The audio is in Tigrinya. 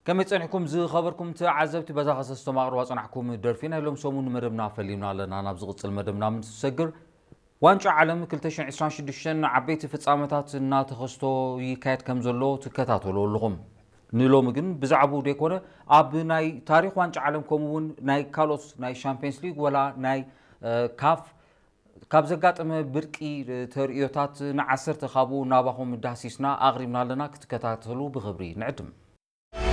ከመይ ጸኒሕኩም ዝኸበርኩም ተዓዘብቲ? በዛ ከሰስቶም ኣቕርባ ጸናሕኩም ደርፊ ናይ ሎም ሰሙን መደብና ፈሊምና ኣለና። ናብ ዝቕጽል መደብና ምስ ሰግር፣ ዋንጫ ዓለም ክልተ ሽሕን ዕስራን ሽዱሽተን ዓበይቲ ፍጻመታት እናተኸስቶ ይካየድ ከም ዘሎ ትከታተሉ ኣለኹም። ንሎሚ ግን ብዛዕባኡ ደይኮነ፣ ኣብ ናይ ታሪኽ ዋንጫ ዓለም ከምኡ እውን ናይ ካልኦት ናይ ሻምፒየንስ ሊግ ወላ ናይ ካፍ ካብ ዘጋጠመ ብርቂ ተርእዮታት ንዓሰርተ ካብኡ ናባኹም ዳህሲስና ኣቕሪብና ኣለና። ክትከታተሉ ብኽብሪ ንዕድም።